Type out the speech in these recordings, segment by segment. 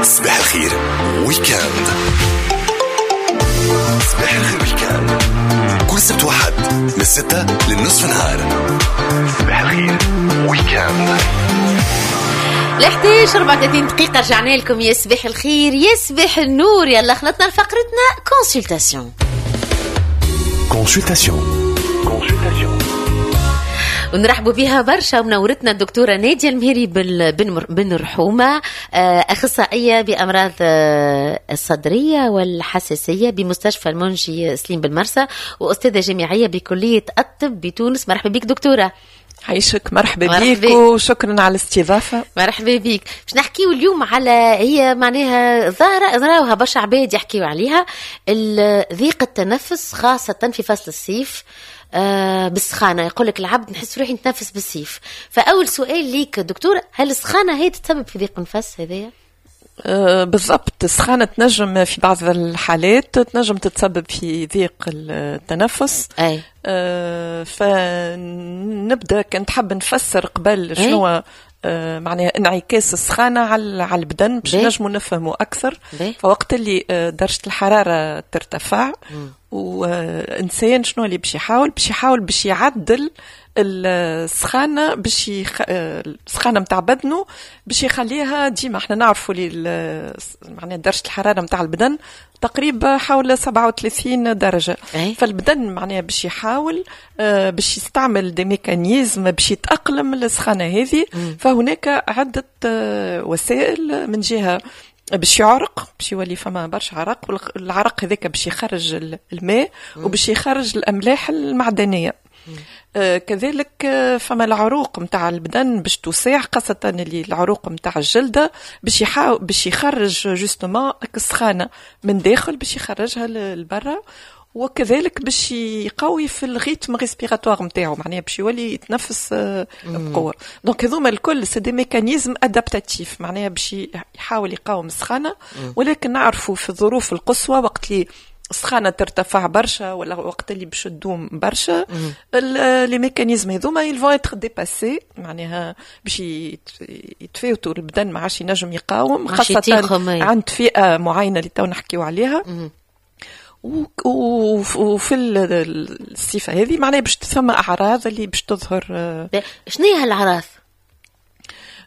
صباح الخير week-end. صباح الخير week-end كل سبت وحد من 6 للنصف نهار. صباح الخير week-end. 11 34 دقيقة، رجعنا لكم. يا صباح الخير، يا صباح النور. يلا خلطنا لفقرتنا consultation. consultation، consultation. ونرحبوا بها برشا، منورتنا الدكتورة نادية المهيري بن رحومة، أخصائية بأمراض الصدرية والحساسية بمستشفى المنجي سليم بالمرسى، وأستاذة جامعية بكلية الطب بتونس. مرحبا بك دكتورة. عايشك، مرحبا بك وشكرا على الاستضافة. مرحبا بك. باش نحكيو اليوم على هي معناها ظاهرة نراوها برشا عباد يحكيو عليها، ضيق التنفس، خاصة في فصل الصيف بالسخانة. يقول لك العبد نحس روحي نتنفس بالسيف. فأول سؤال ليك دكتور، هل السخانة هي تتسبب في ضيق النفس هذايا؟ بالضبط، السخانة تنجم في بعض الحالات تنجم تتسبب في ضيق التنفس. فنبدا كنت حاب نفسر قبل شنو معناها انعكاس السخانة على البدن باش نجموا نفهموا أكثر. فوقت اللي درجة الحرارة ترتفع، وإنسان شنو اللي باش يحاول؟ باش يحاول باش يعدل السخانة، السخانة نتاع بدنه باش يخليها ديما. احنا نعرفوا اللي معناها درجة الحرارة نتاع البدن تقريبا حول 37 درجة. فالبدن معناها باش يحاول باش يستعمل des mécanismes باش يتأقلم للسخانة هذه. فهناك عدة وسائل. من جهة باش يعرق، باش يولي فما برشا عرق، والعرق هذاك باش يخرج الماء وباش يخرج الأملاح المعدنية. كذلك فما العروق نتاع البدن باش توسع، خاصة اللي العروق نتاع الجلدة، باش يحاول باش يخرج justement السخانة من داخل، باش يخرجها لبرا. وكذلك باش يقوي في ال rythme respiratoire نتاعو، معناها باش يولي يتنفس بقوه. donc هذوما الكل c'est des mécanismes adaptatifs، معناها باش يحاول يقاوم السخانه. ولكن نعرفوا في الظروف القصوى، وقت اللي السخانه ترتفع برشا ولا وقت اللي باش تدوم برشا، les mécanismes هذوما ils vont être dépassés، معناها باش يتفاوتوا، البدن ما عادش ينجم يقاوم، خاصة عند فئة معينة اللي تو نحكيو عليها. وفي الصفة هذه معناها باش ثم اعراض اللي باش تظهر. شنو هي هالاعراض؟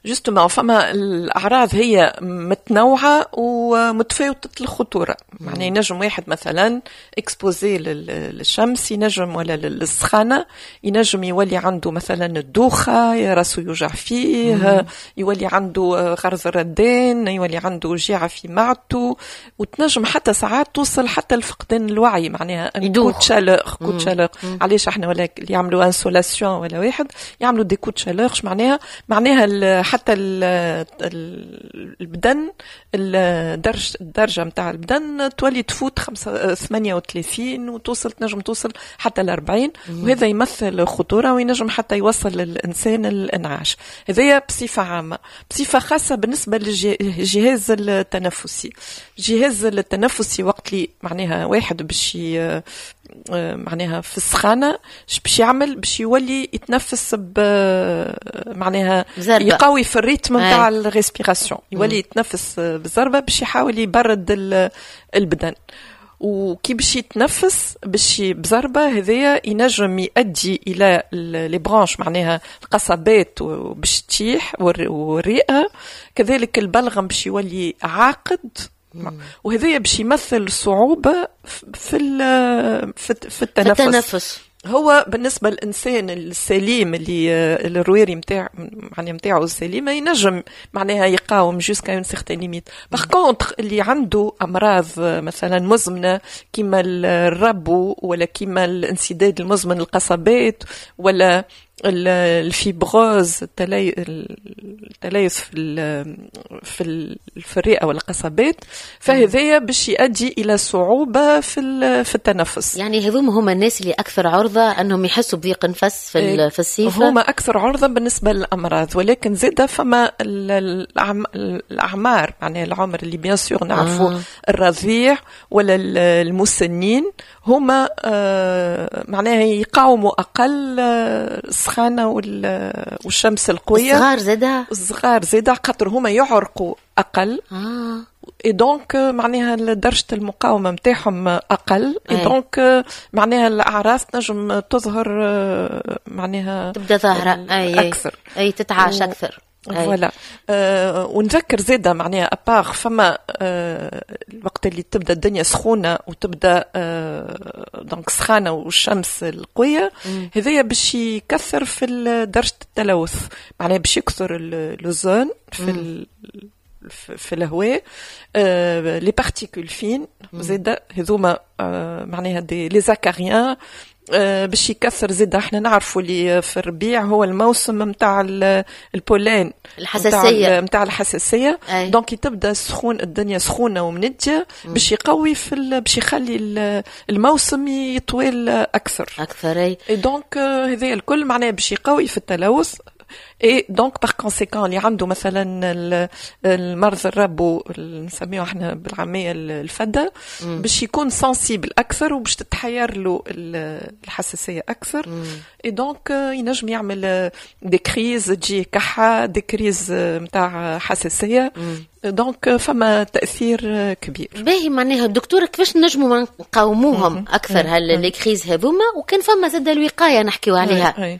justement فما الاعراض هي متنوعة ومتفاوته الخطوره. معناها ينجم واحد مثلا exposé للشمس ينجم ولا للسخانه، ينجم يولي عنده مثلا الدوخه، راسه يوجع فيه، يولي عنده غرز الردان، يولي عنده وجيعه في معدته، وتنجم حتى ساعات توصل حتى لفقدان الوعي، معناها coup de chaleur، coup de chaleur. علاش احنا ولا اللي يعملوا insolation ولا واحد يعملوا des coups de chaleur؟ معناها حتى البدن الدرجة نتاع البدن تولي تفوت 38 وتوصل، تنجم توصل حتى ل 40، وهذا يمثل خطورة وينجم حتى يوصل للإنسان الإنعاش. هذايا بصفة عامة. بصفة خاصة بالنسبة للجهاز التنفسي، الجهاز التنفسي وقت اللي معناها واحد باش معناها في السخانة باش يعمل؟ باش يولي يتنفس ب معناها يقوي في ال rythme نتاع ال respiration، يولي يتنفس بالزربه باش يحاول يبرد البدن. وكي باش يتنفس باش بزربه، هذايا ينجم يؤدي الى les bronches، معناها القصبات باش تشيح، والرئه كذلك، البلغم باش يولي عاقد، وهذايا باش يمثل صعوبة في التنفس. في التنفس. هو بالنسبة للانسان السليم اللي الرواري نتاع معناها نتاعو السليمه، ينجم معناها يقاوم jusqu'à une certaine limite. par contre اللي عنده امراض مثلا مزمنة كيما الربو ولا كيما الانسداد المزمن القصبات ولا ال fibrose، التليف في الرئة والقصبات، فهذايا باش يؤدي الى صعوبة في التنفس. يعني هذوما هما الناس اللي اكثر عرضه انهم يحسوا بضيق نفس في الصيف؟ هما اكثر عرضه بالنسبة للامراض، ولكن زاده فما الاعمار، معناها العمر اللي bien sûr نعرفوا. الرضيع ولا المسنين هما معناها يقاوموا اقل السخانه والشمس القويه. الصغار زاده، الصغار زاده خاطر هما يعرقوا اقل. Et donc معناها درجه المقاومة نتاعهم اقل، et donc معناها الاعراض تنجم تظهر معناها تبدا ظاهره اكثر، اي تتعاش اكثر. Voilà. ونذكر زاده معناها à part فما الوقت اللي تبدا الدنيا سخونة وتبدا donc سخانه والشمس القويه، هذايا باش يكثر في درجه التلوث، معناها باش يكثر l'ozone في الهواء، les particules fines زاده هذوما معناها des les acariens باش يكثر زاد. احنا نعرفوا اللي في الربيع هو الموسم نتاع ال pollen، الحساسيه، نتاع الحساسيه. donc تبدا سخون، الدنيا سخونة ومنديه، باش يقوي في باش يخلي الموسم يطويل اكثر. اكثر، اي. Donc هذا الكل معناه باش يقوي في التلوث، et donc par conséquent اللي عنده مثلا المرض الربو، نسميه احنا بالعامية الفده، باش يكون sensible اكثر وباش تتحير له الحساسية اكثر، et donc ينجم يعمل des crises، تجي كحه، des crises نتاع حساسيه، donc فما تاثير كبير. باهي، معناها الدكتورة كيفاش نجموا نقاوموهم اكثر هال les crises هذوما؟ وكان فما زاد الوقاية نحكيو عليها.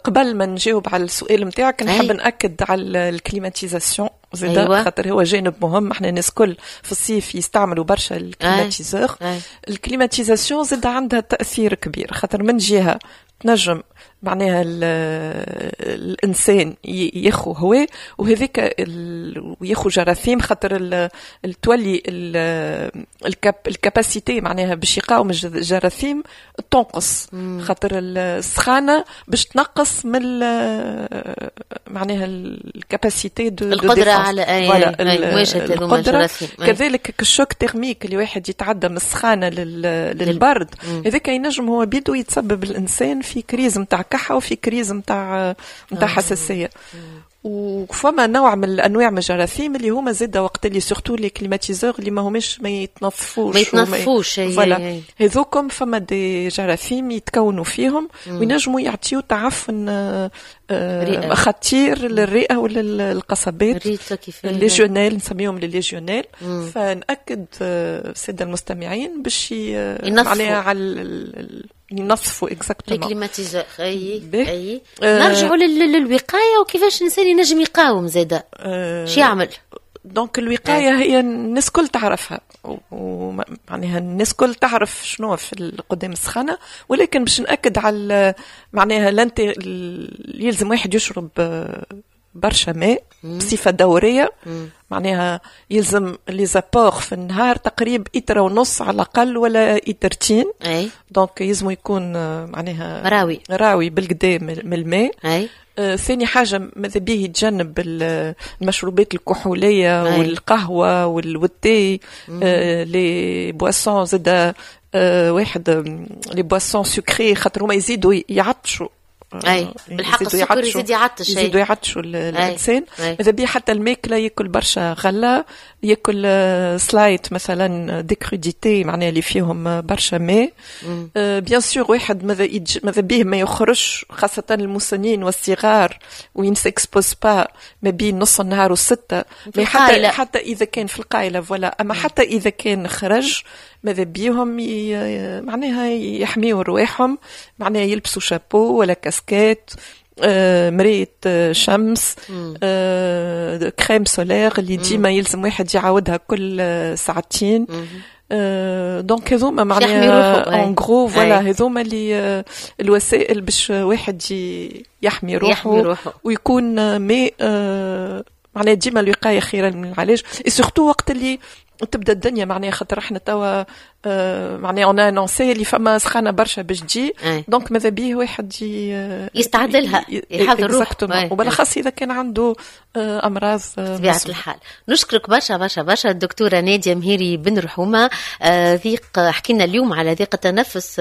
قبل ما نجاوب على السؤال نتاعك نحب ناكد على ال climatisation زاد. خاطر هو جانب مهم. احنا الناس كل في الصيف يستعملوا برشا ال climatiseur. ال climatisation زاد عندها تاثير كبير، خاطر من جهة تنجم معناها الانسان ياخو هواء وهذيك وياخو جراثيم، خاطر تولي ال capacité معناها باش يقاوم الجراثيم تنقص، خاطر السخانه باش تنقص من معناها ال capacité de القدرة على أي مواجهة القدره. كذلك ال choc thermique اللي واحد يتعدى من السخانه للبرد، هذاك ينجم هو بيدو يتسبب الانسان في crise نتاع كحه وفي crise نتاع حساسيه. وفما نوع من الانواع من الجراثيم اللي هما زاد وقت اللي surtout les climatiseurs اللي ما هماش ما يتنظفوش. ما يتنظفوش. Voilà، هذوكم فما des جراثيم يتكونوا فيهم وينجموا يعطيو تعفن خطير للرئه وللقصبات، légionelle، نسميهم les légionelles. فنأكد السادة المستمعين باش معناها على ينظفوا exactement les climatiseurs. اي، نرجعوا للوقايه، وكيفاش الانسان ينجم يقاوم زاده، شو يعمل؟ Donc الوقاية هي الناس كل تعرفها، ومعناها الناس كل تعرف شنو في قدام السخانه، ولكن باش ناكد على معناها لانت يلزم واحد يشرب برشا ماء بصفة دوريه. معناها يلزم les apports في النهار تقريب إتر ونص على الأقل ولا إترتين. Donc يلزم يكون معناها راوي. راوي بالقدا من الماء. ثاني حاجة، ماذا به يتجنب المشروبات الكحولية والقهوة والتاي، les boissons زاد واحد les boissons sucrées، خاطر هما يزيدوا يعطشوا. اي بالحق، السكر يزيد يعطش. يزيدوا يعطشوا الانسان. ماذا بيه حتى الماكلة ياكل برشا غله، ياكل سلايت مثلا، des crudités معناها اللي فيهم برشا ماء. Bien sûr واحد ماذا بيه ما يخرجش، خاصة المسنين والصغار، وين s'expose pas ما بين نص النهار والستة. حتى اذا كان في القايله، voilà. اما حتى اذا كان خرج ماذا بيهم معناها يحميوا رواحهم، معناها يلبسوا شابو ولا كاسكات، مراية شمس، crème solaire اللي ديما يلزم واحد يعاودها كل ساعتين. Donc هذوما معناها en gros، voilà، هذوما اللي الوسائل باش واحد يحمي روحه، يحمي روحه ويكون mais معناها ديما الوقاية خيرا من العلاج، surtout وقت اللي تبدا الدنيا معناها، خاطر احنا توا معناها on a annoncé اللي فما سخانه برشا باش تجي، donc ماذا بيه واحد يستعد لها، يحضر روحه. وبالاخص اذا كان عنده امراض. بطبيعة الحال. نشكرك برشا برشا برشا الدكتورة ناديه مهيري بن رحومه. ضيق، حكينا اليوم على ضيق التنفس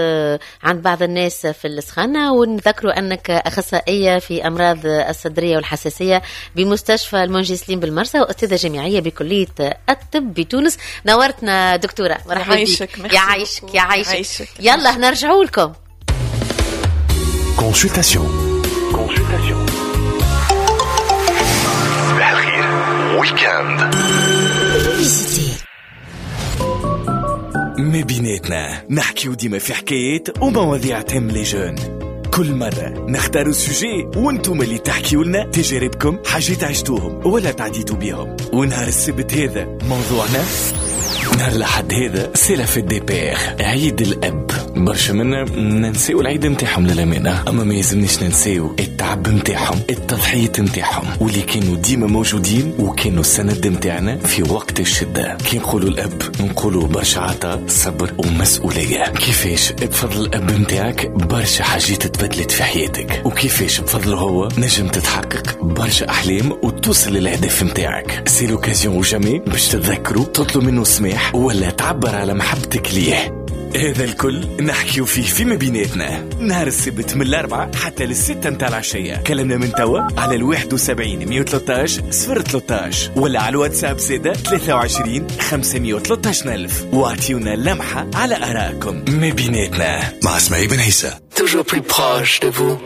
عند بعض الناس في السخانه، ونذكروا انك اخصائية في امراض الصدرية والحساسيه بمستشفى المنجي سليم بالمرسى، واستاذه جامعية بكلية الطب. الطب بتونس. نورتنا دكتورة، مرحبا بك. يعيشك يعيشك. يلا نرجعوا لكم. Consultation. صباح الخير week-end. ما بيناتنا نحكيو ديما في حكايات ومواضيع تهم les jeunes. كل مرة نختاروا sujet وانتم اللي تحكيوا لنا تجاربكم، حاجات عشتوهم ولا تعديتوا بيهم. ونهار السبت هذا موضوعنا، نهار الأحد هذا c'est la fête des pères، عيد الأب. برشا منا ننساو العيد نتاعهم للأمانة، أما ما يلزمناش ننساو التعب نتاعهم، التضحية نتاعهم، واللي كانوا ديما موجودين وكانوا السند نتاعنا في وقت الشدة. كي نقولوا الأب نقولوا برشا عطاء، صبر ومسؤولية. كيفاش بفضل الأب نتاعك برشا حاجات تبدلت في حياتك، وكيفاش بفضله هو نجم تتحقق برشا أحلام وتوصل للأهداف نتاعك. c'est l'occasion ou jamais باش تتذكروا، تطلب منه سماح ولا تعبر على محبتك ليه. هذا الكل نحكيو فيه فيما بيناتنا نهار السبت من 4 حتى 6 متاع العشية. كلمنا من توا على 71 113 013 ولا على الواتساب زادة 23 513 ألف، واعطيونا لمحة على آرائكم. ما بيناتنا مع اسماعيل بن عيسى. Toujours plus proche de vous.